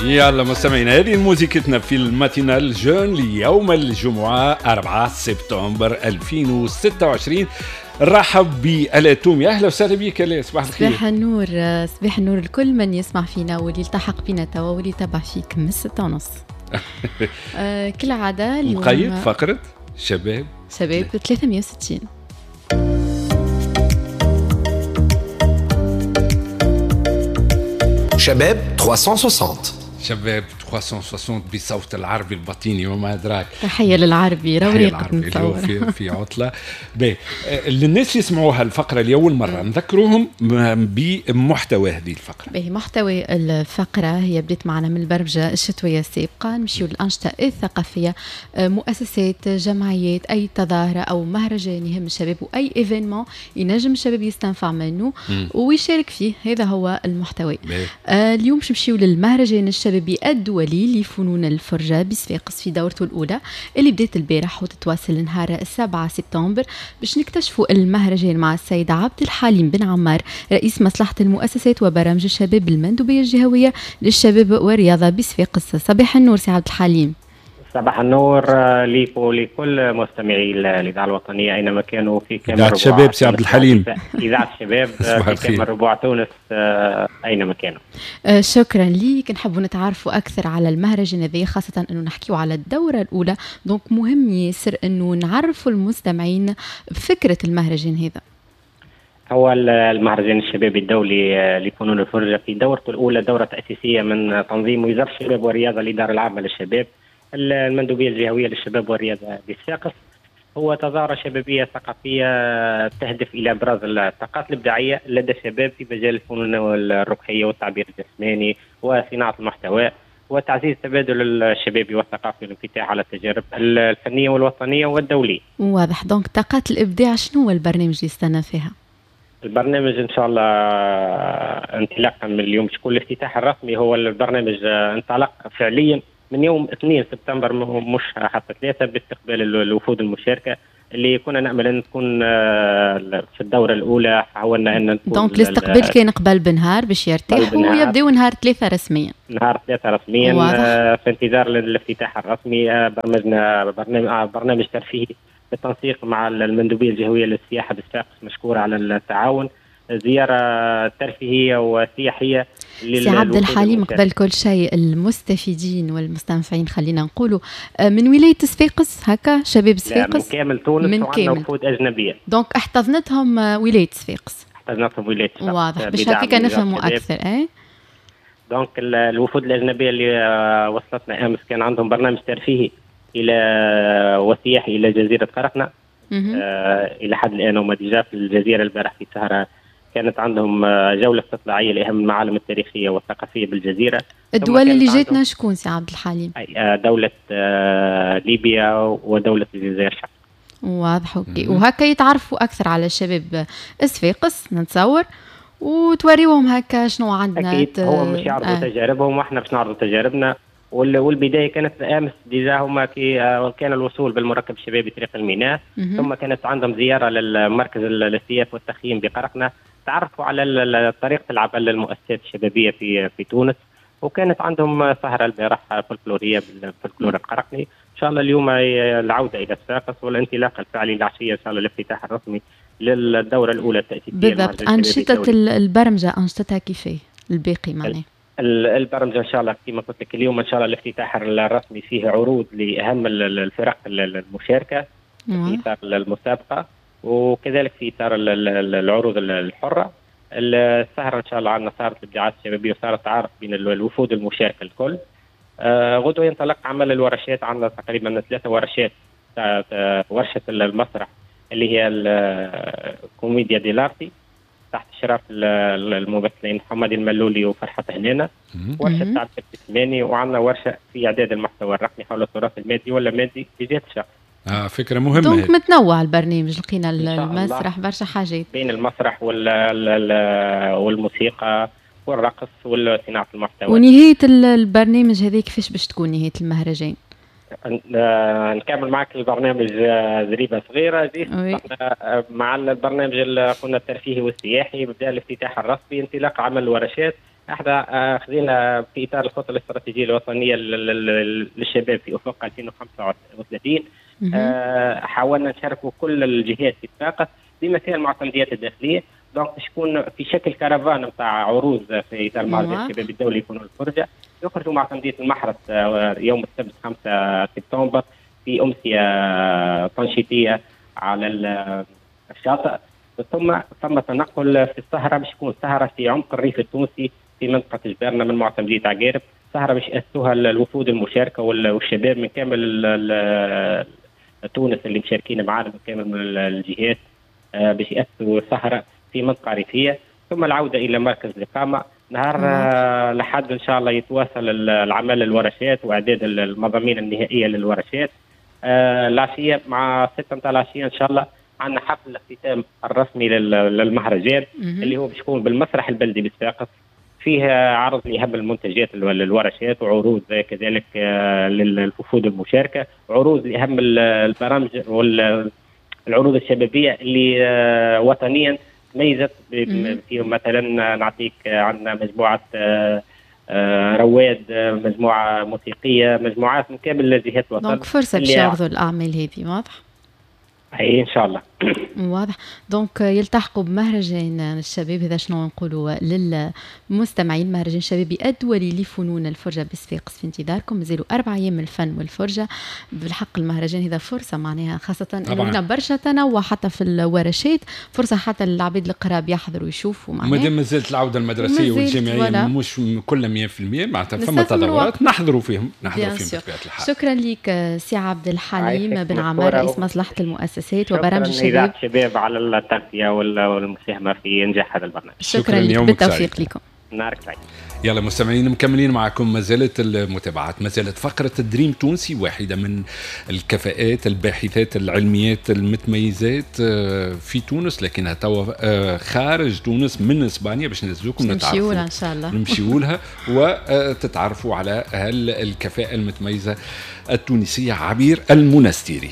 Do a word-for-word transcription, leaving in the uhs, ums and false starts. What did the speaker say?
يلا مستمعينا، هذه موزيكتنا في ال matinale jeune ليوم الجمعة أربعة سبتمبر ألفين وستة وعشرين. رحب بآلاء تومي، أهلا وسهلا بك آلاء، صباح الخير. صباح النور، صباح النور لكل من يسمع فينا واللي التحق بنا توا واللي تبع فيك من ستة ونص. آه كالعادة اليوم مقيد فقرة شباب شباب ثلاثمية وستين. شباب ثلاثمية وستين، شباب ثلاثمية وستين بصوت العربي البطيني وما أدراك. تحية للعربي، روريق نتصور في, في عطلة. باهي، للناس يسمعوها الفقرة لأول مرة نذكروهم بمحتوى هذه الفقرة. باهي، محتوى الفقرة هي بديت معنا من البرمجة الشتوية السابقة، نمشيو للأنشطة الثقافية، مؤسسات، جمعيات، أي تظاهرة أو مهرجان يهم الشباب وأي événement ينجم الشباب يستنفع منه ويشارك فيه، هذا هو المحتوى. آه اليوم باش نمشيو للمهرجان الشبابي الدولي لفنون الفرجة بصفاقس في دورته الأولى اللي بدأت البارح وتتواصل نهار سبعة سبتمبر، باش نكتشفوا المهرجان مع السيد عبد الحليم بن عمار رئيس مصلحة المؤسسات وبرامج الشباب بالمندوبية الجهوية للشباب والرياضة بصفاقس. صباح النور سي عبد الحليم. صباح النور ليك ولكل مستمعي الإذاعة الوطنية أينما كانوا في كامل إذاعة الشباب. سي عبد الحليم، إذاعة الشباب في كامل ربوع تونس أينما كانوا. شكرا ليك. نحبوا نتعرفوا أكثر على المهرجان هذا، خاصة أنه نحكيو على الدورة الأولى، donc مهم ياسر أنه نعرفوا المستمعين بفكرة المهرجان هذا. هو المهرجان الشبابي الدولي لفنون الفرجة في دورته الأولى دورة تأسيسية من تنظيم وزارة الشباب والرياضة الإدارة العامة للشباب المندوبية الجهوية للشباب والرياضة بصفاقس. هو تظاهرة شبابية ثقافية تهدف إلى إبراز الطاقات الإبداعية لدى الشباب في مجال الفنون الركحية والتعبير الجسماني وصناعة المحتوى وتعزيز التبادل الشبابي والثقافي والانفتاح على التجارب الفنية والوطنية والدولية. واضح. donc طاقات الإبداع شنو هو البرنامج اللي يستنى فيها؟ البرنامج إن شاء الله انطلاقا من اليوم باش يكون الافتتاح الرسمي. هو البرنامج انطلق فعليا من يوم اثنين سبتمبر مش حتى ثلاثة باستقبال الوفود المشاركة اللي كنا نأمل أن تكون في الدورة الأولى. حاولنا أن نكون donc الاستقبال كان قبل بنهار باش يرتاحوا ويبداو نهار ثلاثة رسميا. نهار ثلاثة رسميا. واضح. في انتظار الافتتاح الرسمي برمجنا برنامج, برنامج ترفيهي بالتنسيق مع المندوبية الجهوية للسياحة بصفاقس مشكورة على التعاون، زيارة ترفيهية وسياحية. سي عبد الحليم، قبل كل شيء المستفيدين والمستنفعين خلينا نقولوا من ولاية صفاقس هكا، شباب صفاقس؟ من كامل تونس، من كامل، وفود أجنبية. donc احتضنتهم ولاية صفاقس. احتضنتهم ولاية صفاقس. واضح، باش هكاك نفهموا أكثر. أي donc الوفود الأجنبية اللي وصلتنا أمس كان عندهم برنامج ترفيهي إلى وسياحي إلى جزيرة قرقنة. آه إلى حد الآن هما déjà في الجزيرة. البارح في سهرة كانت عندهم جولة استطلاعية لأهم المعالم التاريخية والثقافية بالجزيرة. الدول اللي جاتنا شكون سي عبد الحليم؟ دولة ليبيا ودولة الجزائر. واضح، OK. وهكا يتعرفوا أكثر على الشباب صفاقس نتصور، وتوريوهم هكا شنو عندنا. أكيد هو مش يعرضوا آه. تجاربهم واحنا باش نعرضوا تجاربنا. والبداية كانت امس déjà هما كي كان الوصول بالمركب الشبابي طريق الميناء، ثم كانت عندهم زيارة للمركز الاستياف والتخييم بقرقنه، تعرفوا على طريقه العمل للمؤسسات الشبابية في في تونس، وكانت عندهم سهره البارح فولكلوريه بالفولكلور القرقني. ان شاء الله اليوم العودة الى صفاقس والانطلاق الفعلي العشية ان شاء الله الافتتاح الرسمي للدورة الاولى التاسيسية. بالضبط. انشطة البرمجة انشطتها كيفاه الباقي معناها؟ البرمجة ان شاء الله كما قلت لك اليوم ان شاء الله الافتتاح الرسمي فيه عروض لاهم الفرق المشاركة في اطار المسابقة وكذلك في اطار العروض الحرة. السهرة ان شاء الله عندنا سهره الابداعات الشبابية وسهره تعارف بين الوفود المشاركة الكل. غدوه ينطلق عمل الورشات، عندنا تقريبا ثلاثة ورشات. ورشه المسرح اللي هي الكوميديا dell'arte تحت اشراف الممثلين حمادي الملولي وفرحة هنانة، ورشة تعبير جسماني، وعندنا ورشة في إعداد المحتوى الرقمي حول التراث المادي ولا مادي في جهة الشرق. اه فكرة مهمة. donc متنوع البرنامج، لقينا المسرح برشا حاجات بين المسرح والموسيقى والرقص وصناعة المحتوى. ونهاية البرنامج هذا كيفاش باش تكون نهاية المهرجان؟ نكمل معك البرنامج زريبه صغيرة مع البرنامج اللي قلنا الترفيهي والسياحي. بدا الافتتاح الرسمي، انطلاق عمل الورشات، احنا خذينا في اطار الخطة الاستراتيجية الوطنية للشباب في افق ألفين وخمسة وثلاثين، حاولنا نشاركوا كل الجهات في الطاقة بما فيها المعتمديات الداخلية. donc باش يكون في شكل كرفان نتاع عروض في اطار مهرجان الشباب الدولي يكونوا الفرجة، يخرجوا معتمديه المحرس يوم السبت خمسة سبتمبر في امسية تنشيطيه على الشاطئ، ثم ثم تنقل في السهرة باش تكون سهره في عمق الريف التونسي في منطقة جبارنا من معتمديه عقارب، سهره باش يأسسوها الوفود المشاركة والشباب من كامل تونس اللي مشاركين معنا من كامل الجهات، باش يأسسوا سهره في منطقة ريفيه، ثم العودة الى مركز الاقامة. نهار لحد ان شاء الله يتواصل العمل الورشات واعداد المضامين النهائية للورشات. العشية مع ستة نتاع العشية ان شاء الله عندنا حفل الاختتام الرسمي للمهرجان اللي هو باش يكون بالمسرح البلدي بصفاقس، فيه عرض لاهم المنتجات الورشات وعروض كذلك للوفود المشاركة، عروض لاهم البرامج والعروض الشبابية اللي وطنيا تميزت فيهم. مثلا نعطيك عندنا مجموعة رواد، مجموعة موسيقية، مجموعات من كامل الجهات الوطنية. donc فرصة باش يعرضوا الاعمال هذه، واضح؟ اي ان شاء الله. واضح. donc يلتحقوا بمهرجان الشباب، هذا شنو نقولوا للمستمعين، مهرجان شبابي الدولي لفنون الفرجة بصفاقس في انتظاركم، مازالوا اربع ايام من الفن والفرجه. بالحق المهرجان هذا فرصة معناها، خاصة انه برشا تنوع حتى في الورشات، فرصة حتى للعباد القراب يحضروا ويشوفوا معناها. مادام مازالت العودة المدرسية والجامعيه مش كلها مية بالمية معناتها فما تطورات نحضروا فيهم، نحضروا فيهم بطبيعة الحال. شكرا لك سي عبد الحليم بن عمار رئيس مصلحة المؤسسات وبرامج الشباب. الشباب على التغطية والمساهمة في إنجاح هذا البرنامج. شكرا لك، بالتوفيق لكم. نهارك سعيد. يلا مستمعين مكملين معكم، ما زالت المتابعات، ما زالت فقرة الدريم تونسي، واحدة من الكفاءات الباحثات العلميات المتميزات في تونس، لكنها توا خارج تونس من اسبانيا باش نزلوكم نتعرفوا نمشيو لها ان شاء الله، نمشيو لها وتتعرفوا على الكفاءة المتميزة التونسية عبير المنستيري.